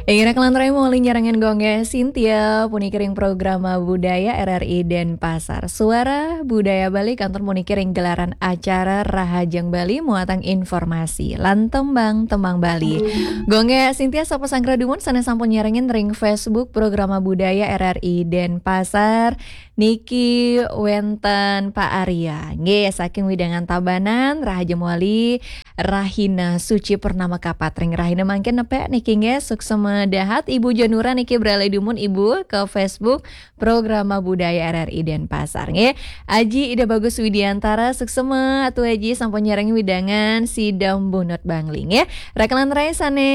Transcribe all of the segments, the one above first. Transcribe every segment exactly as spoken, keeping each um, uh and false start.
Inggih raka lan rai, muli nyarengin Gung Gé Sintia puniki ring programa Budaya R R I Denpasar. Suara Budaya Bali kantun puniki ring gelaran acara Rahajeng Bali muatan informasi lan tembang-tembang Bali. Gung Gé Sintia sapa sanggra dumun sané sampun nyarengin ring Facebook Programa Budaya R R I Denpasar. Niki wénten Pak Arya. Nggih, saking wewidangan Tabanan, rahajeng malih rahina suci purnama kapatring. Rahina mangkin nepek niki nggih, suksma dahat Ibu Jonura niki beralih dumun Ibu ke Facebook Programa Budaya R R I Denpasar nggih. Aji Ida Bagus Widiantara, suksma Atu Aji sampun nyarengin wewidangan Sidam Bunut Bangli nggih. Raka lan rai sané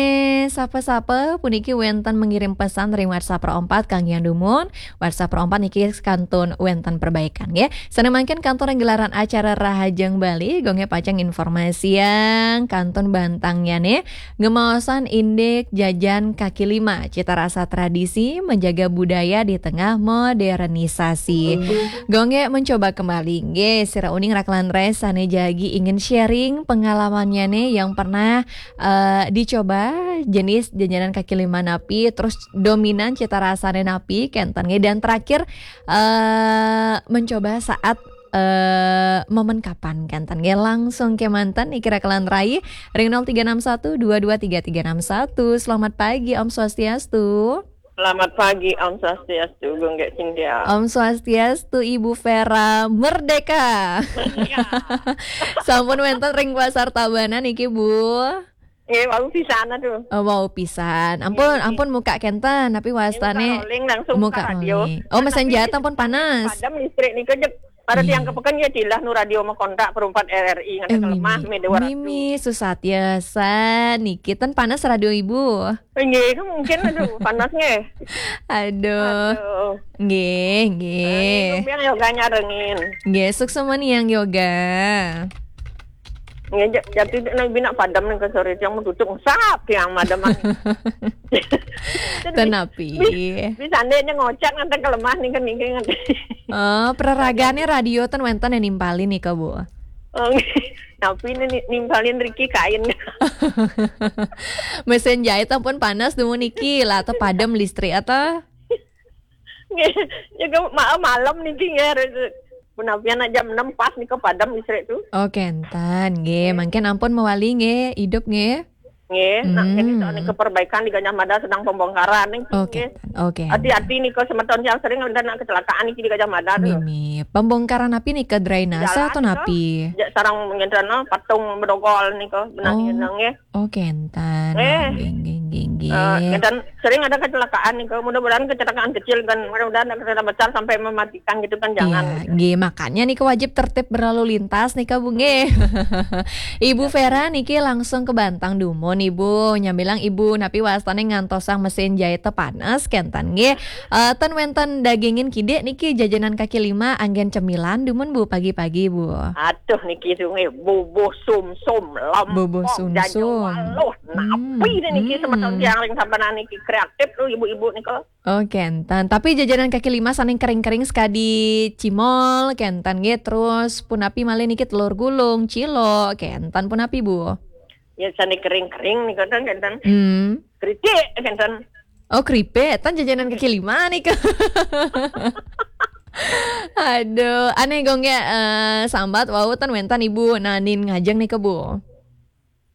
sapa-sapa puniki wénten mengirim pesan ring WhatsApp Pro empat kanggihan dumun. WhatsApp Pro empat niki kantun wénten perbaikan nggih. Sané mangkin kantun ring gelaran acara Rahajeng Bali, Gung Gé pacang informasiang kantun bantangnyané ngemaosan indik jajan kaki lima, cita rasa tradisi, menjaga budaya di tengah modernisasi. Gung Gé mencoba kembali nggih, sira uning raka lan rai sané jagi ingin sharing pengalamannyané yang pernah eh, dicoba jenis jajanan kaki lima napi, terus dominan cita rasané napi, kénten nggih. Dan terakhir, eh, mencoba saat, eh, momen kapan, kénten nggih. Langsung kémanten niki raka lan rai ring nol tiga enam satu dua dua tiga tiga enam satu. Selamat pagi, Om Swastiastu. Selamat pagi, Om Swastiastu, Gung Gé Sintia. Om Swastiastu, Ibu Vera Merdeka. Iya. Sampun wénten ring Pasar Tabanan niki, Bu. Nggih, wau pisan tuh. Oh, wau pisan. Ampun, nggih, ampun muka kénten, tapi wastané muka rolling, langsung muka buka radio. Rolling. Oh, mesin jahit ampun panas. Padam listrik niku jek. Para tiang kepeken ya dilah nu radio makontak perumpat R R I nganti eh, kelemah mimi, mimi, susah tiasa niki ten panas radio Ibu. Nggih, itu mungkin aduh panas nggih. Aduh. Aduh. Nggih, nggih. Yang yoga nyarengin. Nggih, suksma nih yang yoga. Nggih, ja-, jadi nek bina padam nih ke sore yang mau tutup sap yang madam. Tenapi. Bisa andainya ngocak nanti kelemah nih kan nih kan. Oh, peraragane radio ten wenten yang nimpalin nih ke Bu. Oh, nggih. Tapi ini ni-, nimpalin Ricky kain. Mesin jahit ampun panas dumun niki lah atau padam listrik atau? Nggih, ya ke ma-, malam niki nggih. Punapian jam enam pas nika padam listrik tuh. Oh, kenten nggih. Mangkin ampun mewali nggih, hidup nggih. Nggih, nak kene soal nika perbaikan di Gajah Mada sedang pembongkaran nih. Oh, kenten. Oh, kenten. Hati-hati nika semeton yang sering ada nak kecelakaan niki di Gajah Mada tuh. Mimi, pembongkaran napi nika, drainase atau napi? Jalan nika, sarang ngentrana patung bedogol nika benang nggih. Oh, kenten. Eh. Nggih, nggih, nggih, nggih. Eh, kenten sering ada kecelakaan nih, mudah-mudahan kecelakaan kecil kan, mudah-mudahan kecelakaan besar sampai mematikan gitu kan, jangan. Iya, nggih, makanya nih wajib tertib berlalu lintas nih, Bu, nggih. Ibu Vera niki langsung ke Bantang dumun, Ibu. Nyambilang Ibu napi wastane ngantosang mesin jahit teh panas, kenten nggih. Eh, ten wenten dagingin kidik niki jajanan kaki lima anggen cemilan dumun, Bu, pagi-pagi, Bu. Aduh, niki tuh nggih, bubuh sumsum, lempok, bubuh sumsum. Jajawaluh, napi nih niki semeton tiang ring sampun niki kreatif tuh ibu-ibu nika. Oh, kenten. Tapi jajanan kaki lima saning kering-kering sekadi cimol, kenten nggih. Terus punapi malih niki telur gulung, cilok, kenten punapi, Bu? Ya, saning kering-kering nika ten, kenten. Hmm. Keripik, kenten. Oh, keripik. Ten jajanan kaki lima nika. Aduh, aneh gong ya, eh, sambat wau ten wenten Ibu nanin ngajeng nika, Bu.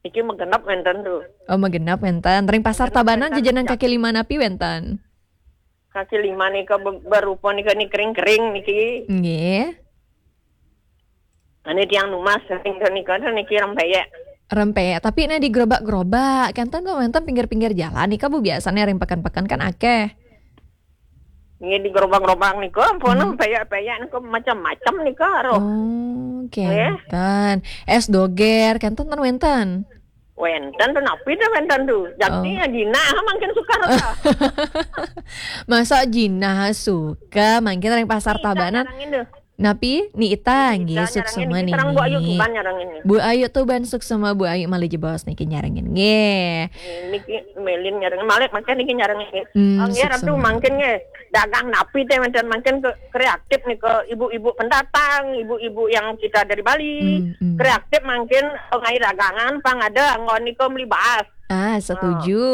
Iki magenep wenten tuh. Oh, magenep wenten. Ring Pasar Tabanan jajanan kaki lima napi wenten? Kaki lima nika be-, berupa nika ni kering-kering niki. Nggih. Ane tiang numas kering nika niki rempeyek. Rempeyek, tapi nek di gerobak-gerobak, kenten tuh wenten pinggir-pinggir jalan nika, Bu, biasanya ring peken-peken kan akeh. Nggih, di gerobak-gerobak nika ampun peyek-peyek nika macam-macam nika roh. Oh, kenten. Es doger, kenten ten wenten? Wenten tuh napi dah wenten tuh. Jakti ya jinah mangkin suka rasa. Masa jinah suka mangkin ring Pasar Tabanan? Napi? Ni Ita, nggih, suksma niki. Sareng Bu Ayu Tuban nyarengin. Bu Ayu Tuban, suksma Bu Ayu malih jebos niki nyarengin. Nggih. Niki melin nyarengin. Malih mangkin niki nyarengin nggih. Hmm, nggih, Ratu, suksma. Mangkin nggih. Dagang napi teh wenten mangkin ke-, kreatif nih ke ibu-ibu pendatang, ibu-ibu yang kita dari Bali. Hmm, hmm. Kreatif mangkin pengai dagangan, pang ada anggon nika melibas. Ah, setuju.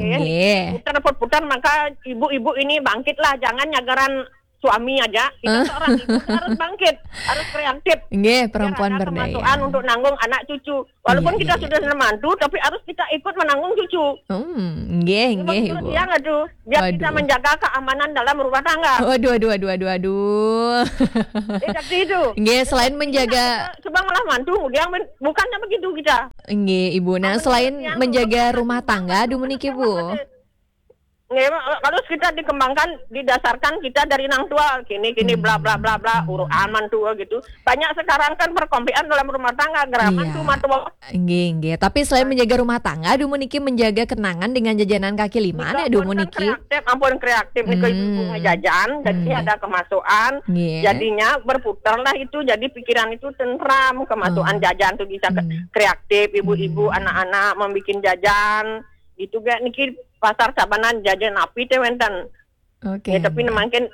Nggih. Putar-putar, maka ibu-ibu ini bangkitlah, jangan nyagaran suami aja. Kita seorang ibu harus bangkit, harus kreatif. Nggih, perempuan ada berdaya. Kemasukan untuk nanggung anak cucu. Walaupun kita sudah menantu, tapi harus kita ikut menanggung cucu. Hmm, nggih, nggih, Ibu. Yang aduh, biar kita menjaga keamanan dalam rumah tangga. Waduh, waduh, waduh, waduh, waduh. Eh, seperti itu. Nggih, selain menjaga. Sebab malah mantu, yang men- bukannya begitu kita. Nggih, Ibu. Nah, selain menjaga rumah tangga, dumun niki, Bu. Nggih, kalau kita dikembangkan, didasarkan kita dari nang tua, gini, gini, bla, bla, bla, bla, uruan mantu gitu. Banyak sekarang kan perkompian dalam rumah tangga, geraman cuma tua. Nggih, nggih. Tapi selain menjaga rumah tangga, dumun niki menjaga kenangan dengan jajanan kaki lima, nih, dumun niki. Kreatif, ampun kreatif, nika ibu-ibu ngejajan, jadi ada kemasukan, jadinya berputarlah itu, jadi pikiran itu tentram, kemasukan jajan tuh bisa kreatif, ibu-ibu, anak-anak membikin jajan, gitu gak niki pasar Tabanan jajan api teh wenten. Oke. Ya, tapi mangkin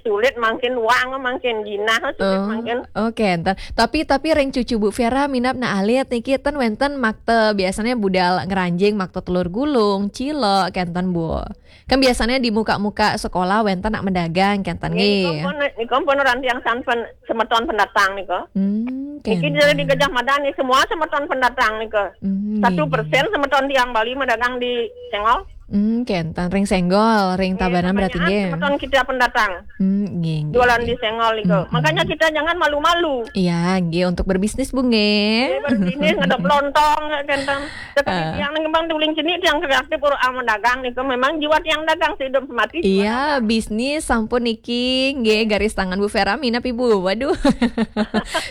sulit, mangkin wang, mangkin jinah, sulit mangkin. Oke, enten. Tapi, tapi ring cucu Bu Vera minab na alit niki ten wenten makte biasanya budal ngeranjing, makte telur gulung, cilok, kenten, Bu. Kan biasanya di muka-muka sekolah wenten nak mendagang, kenten nggih. Niki pun, niki pun orang tiang sampen semeton pendatang nika. Hmm, niki dari di Gajah Mada nih, semua semeton pendatang nika. Hmm, satu persen semeton tiang Bali mendagang di Senggol. Hmm, kenten ring Senggol, ring Tabanan berarti nggih. Semeton kita pendatang. Hmm, nggih, nggih. Jualan di Senggol nika. Makanya kita jangan malu-malu. Iya, nggih, untuk berbisnis, Bu, nggih. Berbisnis, ngadep lontong, kenten. Sekali tiang nang kembang tuling sini, tiang kreatif, orang mendagang nika. Memang jiwa tiang dagang, sehidup semati. Iya, bisnis, sampun niki, nggih, garis tangan Bu Vera minab, Ibu. Waduh.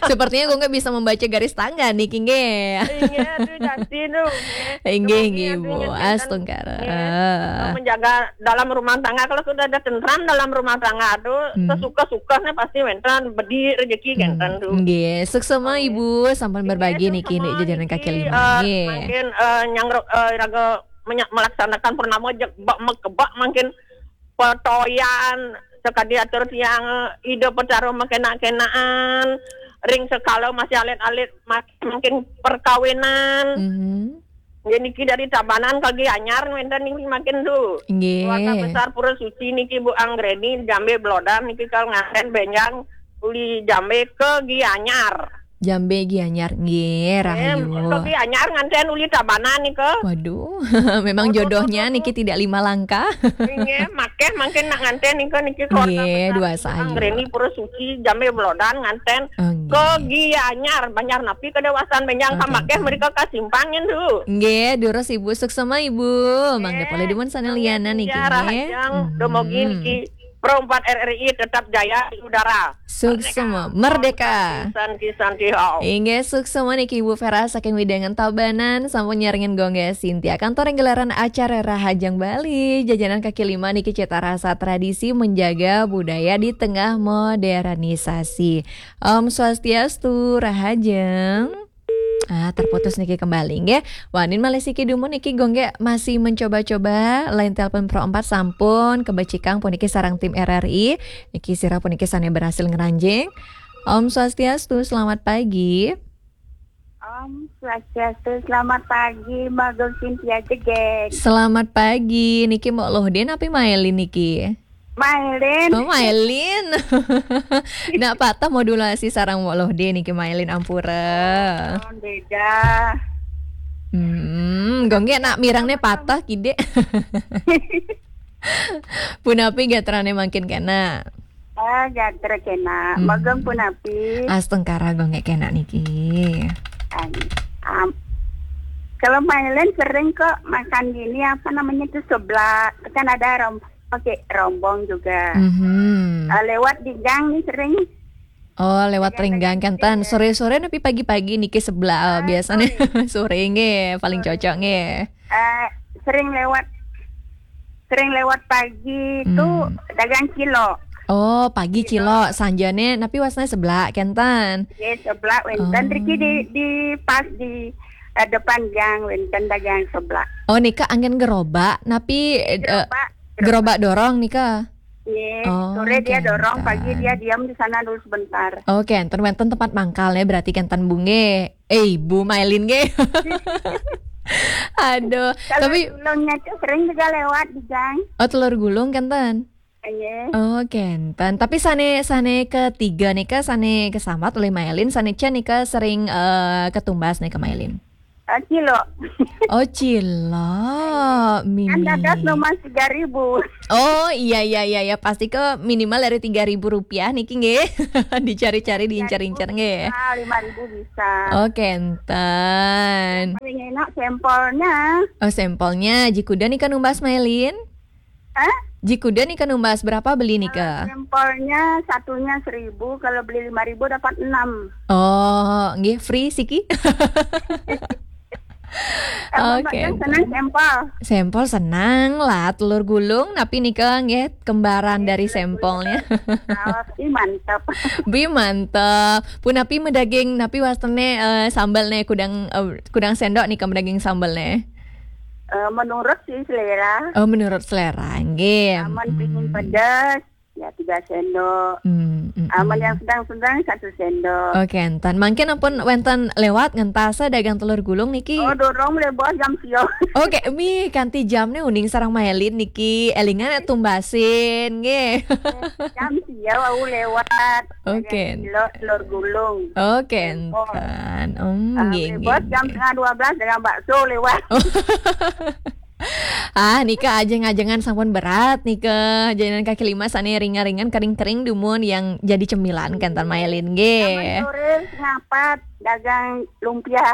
Sepertinya gue nggak bisa membaca garis tangan niki, nggih. Iya, tuh, Justin, tuh. Nggih, nggih, Bu. Astungkara. Menjaga dalam rumah tangga, kalau sudah ada tentram dalam rumah tangga tuh, sesuka-sukanya pasti wenten bedi rezeki kenten tuh. Nggih, suksema Ibu sampun berbagi niki, nih, jajanan kaki lima. Nggih. Mangkin, eh, nyang ro- eh, raga menya- melaksanakan purnama jek bak mekebak mangkin petoyan sekadi atur tiang, eh, ida petaro makenak-kenakan ring sekala masih alit-alit, mas- mungkin perkawinan. Mhm. Nggih, niki dari Tabanan ke Gianyar wenten niki mangkin tuh. Nggih. Keluarga besar Pura Suci niki Bu Anggreni, Jambe Blodan niki kalau nganten benjang uli Jambe ke Gianyar. Jambe Gianyar, nggih, rahayu. Ke Gianyar nganten uli Tabanan nika. Waduh, memang jodohnya niki tidak lima langkah. Nggih, makeh mangkin nak nganten nika niki keluarga besar Bu Anggreni Pura Suci, Jambe Blodan nganten ke Gianyar, Banjar napi kedewasan benjang kamakeh mereka kasimpangin tuh. Nggih, durus Ibu, suksema Ibu. Mangga polih dumun sané lianan niki, nggih. Rahajeng, dumogi niki Pro empat R R I tetap jaya di udara. Suksema, merdeka. Kisan-kisan tihau. Inggih, suksema niki Ibu Vera saking Widangan Tabanan, sampun nyarengin Gongge Sintia. Kantor yang gelaran acara Rahajeng Bali, jajanan kaki lima niki cita rasa tradisi menjaga budaya di tengah modernisasi. Om Swastiastu, Rahajeng. Ah, terputus niki kembali, nggih. Wanin malih siki dumun niki Gongge masih mencoba-coba line telepon Pro empat sampun kebecikang puniki sareng tim R R I. Niki sira puniki sané berhasil ngranjing. Om Swastiastu, selamat pagi. Om Swastiastu, selamat pagi, Mbak Gong Cynthia Jegeg. Selamat pagi, niki Mbok Loh Dé napi Mailin niki? Mailin. Oh, Mailin. Nak patah modulasi sareng Mbok Loh Dé niki Mailin, ampura. Oh, beda. Hmm, Gongge nak mirengné patah kidé. Punapi gatrané mangkin kena? Ah, gatra kena. Hmm. Mbok Gong punapi? Astungkara Gongge kena niki. An- am- kalau Mailin sering kok makan gini, apa namanya tuh, seblak. Kan ada rom- pakai rombong juga. Mhm. Ah, lewat di gang nih sering. Oh, lewat ring gang kenten. Sore-sore napi pagi-pagi niki seblak, ah, biasanya sore. Sore nggih, paling cocok nggih. Eh, sering lewat, sering lewat pagi tuh dagang cilok. Oh, pagi cilok, sanjane napi wasna seblak kenten. Nggih, seblak wenten. Oh. Riki di, di pas di, eh, depan gang wenten dagang seblak. Oh, nika anggen gerobak, napi, eh, gerobak, gerobak dorong nika? Nggih, oh, sore dia dorong, pagi dia diam di sana dulu sebentar. Oke, enten wenten tempat mangkalnya berarti kenten Bu nggih. Eh, Bu Mailin nggih. Aduh, kalau tapi Telur Gulungnya tuh sering juga lewat di gang. Oh, Telur Gulung kenten. Iya. Oh, kenten. Tapi sane, sane ketiga nika, sane kesambat oleh Mailin, sane Cia nika sering eh, ketumbas nika Mailin. Eh, cilok. Oh, cilok. Kan mimi. Dadas nomor tiga ribu. Oh, iya, iya, iya, iya. Pasti ke minimal dari tiga ribu rupiah niki nggih. Dicari-cari, diincar-incar nggih. Bisa, lima ribu bisa. Oh, kenten. Paling enak sampelnya. Oh, sampelnya. Jikuda nika numbas Mailin? Hah? Jikuda nika numbas berapa beli nika? Sampelnya satunya seribu, kalau beli lima ribu dapat enam. Oh, nggih, free siki. Emang Oke. Senang sampel. Sampel senang lah, Telur Gulung, tapi nika nggih kembaran dari sampelnya. Awas, ih, mantap. Bi mantep. Punapi medaging, napi wastene eh, sambel ne kudang eh, kudang sendok nika medaging sambel ne. Eh, menurut sih selera. Oh, menurut selera, nggih. Aman pingin pedas, ya tiga sendok. Hmm, hmm, Aman hmm. Yang sedang-sedang satu sendok. Oke, enten. Mangkin ampun wenten lewat ngentasa dagang Telur Gulung niki. Oh, dorong mulai bos jam sio. Oke, mi kanti jam ne uning sarang Mailin niki. Elingan tumbasin, nggih. Jam sio wau lewat. Oke. Dagang cilok Telur Gulung. Oke, enten. Hmm, ah, nggih, nggih, bos jam setengah dua belas dagang bakso lewat. Oh. Ah, nika ajeng-ajengan sampun berat nika. Jajanan kaki lima sane ringan-ringan, kering-kering dumun yang jadi cemilan kenten Mailin nggih. Sore ngapat dagang lumpia.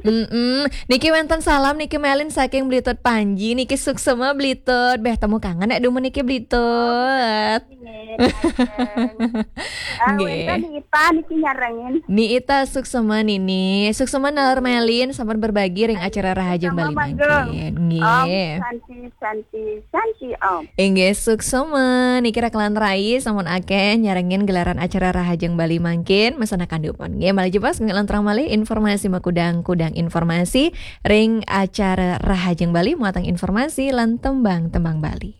Mm-mm. Niki wenten salam niki Mailin saking Blitut Panji niki suksema Blitut. Beh temu kangen nek dumun niki Blitut. Nggih. Ah, nggih. Wenten Ni Ita niki nyarengin. Ni Ita suksema nini. Suksema nalar Mailin sampun berbagi ring acara Rahajeng Bali mangkin. Nggih. Om Santi, Santi, Santi Om. Inggih suksema niki rakelan rai sampun akeh nyarengin gelaran acara Rahajeng Bali mangkin. Mesanakan dumun. Nggih, malih jepas ngelanturang malih informasi makudang-kudang informasi ring acara Rahajeng Bali muatang informasi lan tembang-tembang Bali.